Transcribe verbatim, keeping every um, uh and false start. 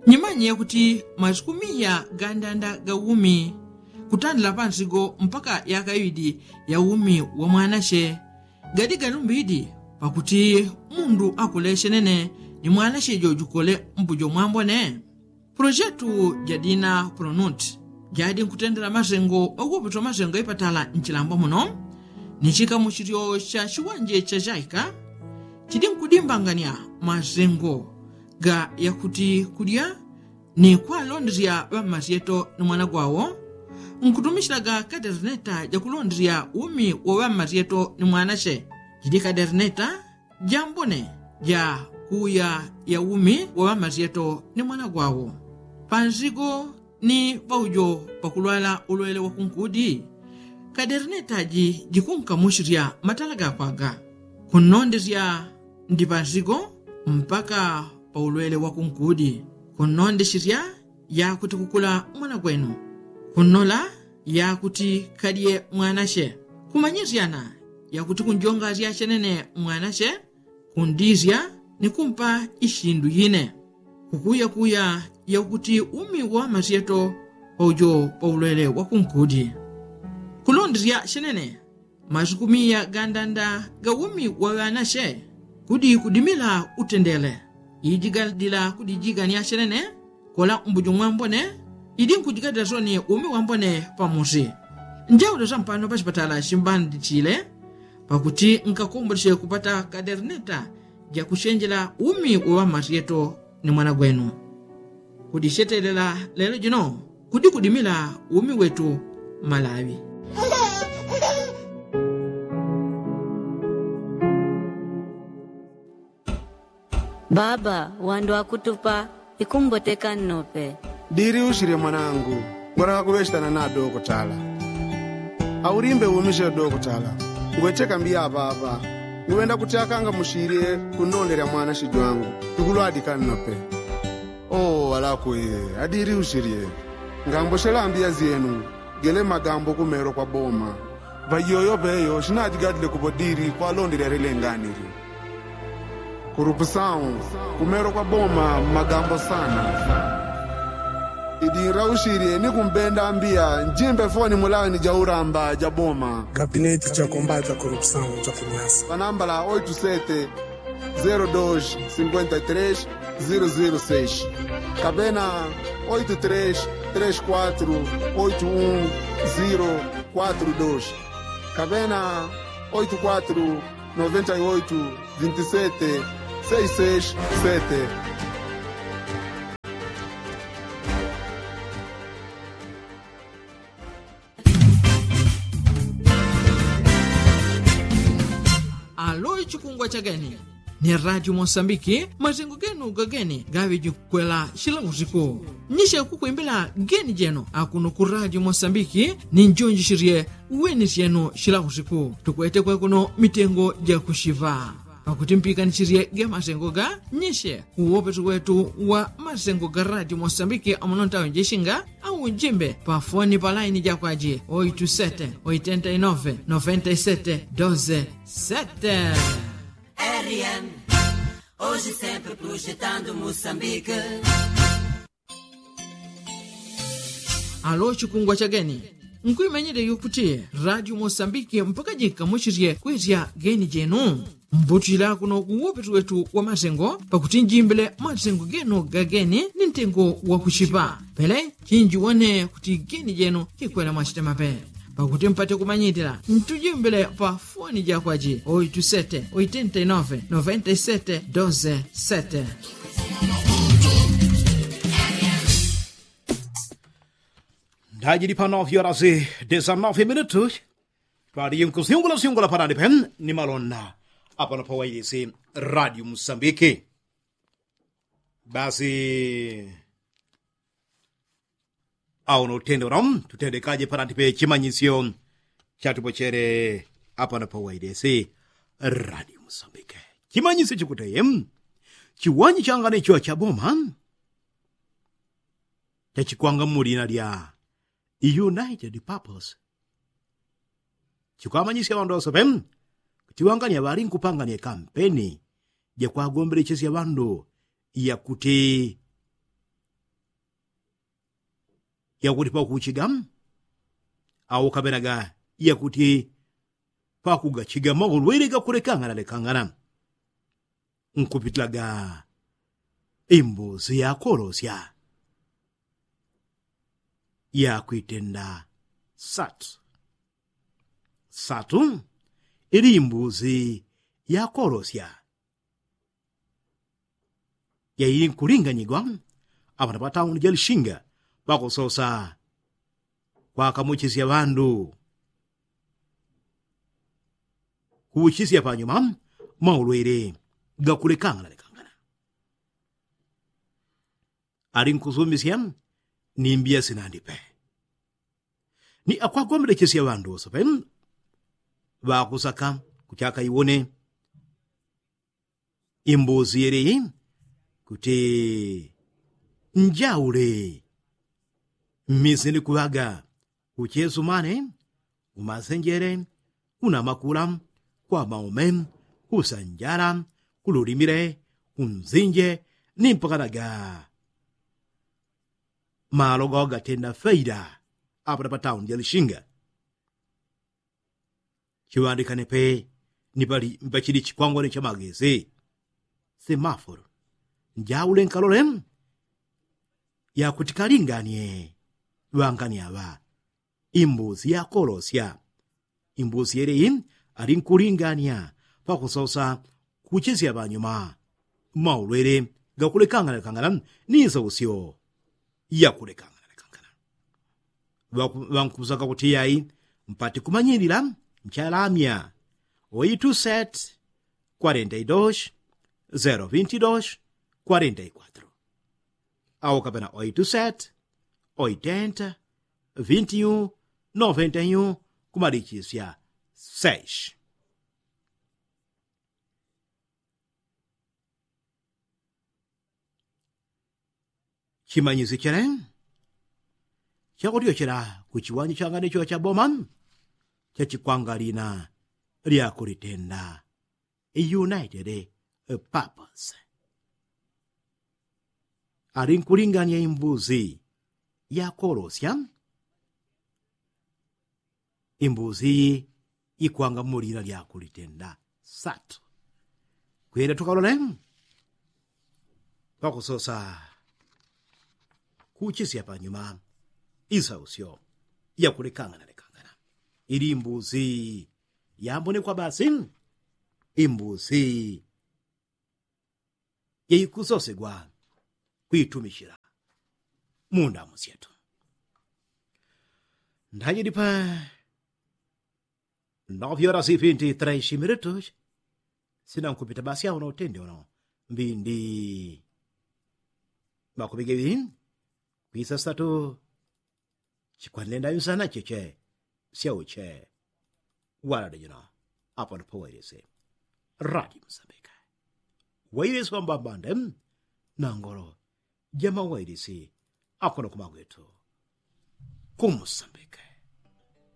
Nyimanye kuti masiku miya gandanda ga umi kutandila pansigo mpaka yaka iwidi ya umi wa mwanache gadi galumbidi pakuti mundu akule chenene ni mwanache jojukole mbujo mwambone. Pulojetu jadina pulonuti jadi nkutendela masengo ogopetwa masengo ipatala nchilambwa muno ni chikamuchilyo cha chiwanje cha chaika chidi nkudimbangania masengo ga yakuti kulya ni kwalondesya ŵammasyeto ni mwana gwawo nkutumisyilaga kaderneta jakulondesya umi wa ŵammasyeto ni mwanache. Jidi kaderneta jambone ja kuuya ya umi wa ŵammasyeto ni mwana gwawo pansigo ni paujo pakulwala ulwele wa kunkudi. Kaderneta ji jikunkamusisya matala gakwaga kunnondesya ndi pansigo mpaka pa ulwele wa kunkudi kunnondesisya yakuti kukula mwana gwenu kunnola yakuti kalye mwanache kumanyisyana yakuti kunjongasya chenene mwanache kundisya ni kumpa ishindu yine kukuyakuya yakuti umi wa ŵammasyeto paujo pa ulwele wa kunkudi. Kulondesya chenene masiku miya gandanda ga umi wa ŵanache kudi kudimila utendele iji gadila kudijigania chenene kola mbujo mwambone. Idi nkujigadila soni umi wambone pamusi njaule sampano pachipatala chimbandichile pakuti nkakomboleche kupata kaderneta jakuchenjela umi wa ŵammasyeto ni mwana gwenu. Kudichetelela lelo jino kudi kudimila umi wetu malawi. Baba wandu akutupa ikumboteka nnope. Diri usirye mwanangu ngwenda kakuŵechitana na dokotala. Aulimbe umisye dokotala ngwecheka mbiya aŵaŵa ngwenda kuti akangamusirye kunnonderya mwana shijwangu. Tukulwadika nnope. Oo alakwe adiri usirye ngamboshela mbiya zyenu. Gele magambo kumero kwa boma ŵaiyoyo ŵeyo shinajigadile kupo diri kwalonderya lilenganiryo. Kurupusawu kumero kwa boma magambo sana. Idinra ushirye ni kumbenda mbiya njimbe foni mulaini ja uramba ja boma. Gabineti ja kombata kurupusawu ja kunyasa panambala oitu sete zero dos cinquenta e tres zero zero seis kapena oitu tres tres quatro oitu un zero quatro dos kapena oitu quatro noventa e oitu vinte e sete seis seis sete. Alo ichikungwa cha geni ni radio mosambiki masengo genu gageni gaŵe jikwela shila usiku. Nyishe kukwimbila geni jenu akuno ku radio mosambiki ni njonjishishe weni syenu shila usiku tukwete kwekuno mitengo jakushiŵa. Pakuti mpikanichirye ge masengo ga nyishe uwopeso wetu wa masengo ga radio mosambiki amuno ntawe njeshinga au njimbe pa foni pa laini jakwaji oitu sete oitenta i nove noventa i sete doze sete. Rm oji sempre projetando mosambike. Alo chikungwa cha geni nkwimanyile yukuti radio mosambiki mpaka jikamuchisye kwesya geni jenu. Mbutila kuno kuwopeti wetu wa masengo pakuti njimbile masengo genu ga geni ni ntengo wa kuchipa pele chinjiwone kuti geni jenu kikwela mwachitemape. Pakuti mpate kumanyitila ntujimbile pa foni jakwaji oitu sete oitenta i nove noventa i sete doze sete. Ndajili pa nove horas desanove minutu. Twaliye nkusyungula syungula panani pe ni malonda apano pa wailisi radio musambiki. Basi au no utende uno tutendekaje panati pe chimanyisyo chatupochere apano pa wailisi radio musambiki. Chimanyisyo chikuteye chiwanyi changane chiwa cha boma chachikwanga mulina lya united purpose. Chikwamanyisya ŵandu ŵasope kuti wangania ŵali nkupangania kampeni jakwagombelechesya ŵandu yakuti yakuti pakuchiga au kapenaga yakuti pakugachiga maulwele gakulekangana lekangana nkupitilaga imbuzi yakolosya yakwitenda satu. Satu ili imbuzi yakolosya yaili nkulinganyigwa apana patauni jalishinga pakusosa kwakamuchisya ŵandu kuchisya panyuma maulwele gakulekangana lekangana. Ali nkusumisya ni mbiya sinandipe ni akwagombelechesya ŵandu wosope ŵakusaka kuchaka iwone imbuzi yeleyi kuti njaule mmisini kuŵaga uchesumane umasenjele unamakula kwamaume kusanjala kululimile kunzinje ni mpakanaga malo gawagatenda faida apata patauni jalishinga. Chiŵandikane pe ni pali mpachili chikwangwani cha magezi semaforo njaule nkalole yakuti kalinganie ŵangani aŵa imbuzi yakolosya imbuzi yeleyi ali nkulingania pakusosa kuchisya ŵanyuma maulwele gakulekangana lekangana ni isausyo yakulekangana lekangana. Ŵankusaka kuti yai mpati kumanyilila nchalamya oitu set kwarenta i dos zero vinti dos kwarenta i kwatro au kapena oitu set oitenta vinti i un noventa i un kumalichisya seis. Chimanyisi chele chakutyochela kuchiwanja changane chocha boma chachikwangwalina lyakulitenda united purpose. Ali nkulingania imbuzi yakolosya imbuzi iyi ikwanga mulila lyakulitenda satu. Kwenda tukalole pakusosa kuchisya panyuma isausyo yakulekangana lekangana ili imbuzi yambonekwa basi imbuzi yaikusosegwa kwitumichila mundamu syetu. Ndajidi pa novyola sifinti traishimiletu sinankupita basi auno utende uno mbindi makupigewi kwisasatu chikwanenda yusana cheche syauche walade jino. Apo ndipo wailisi radi msambike wailisi wambambande nangolo jama wailisi akono kumagwetu kumsambike.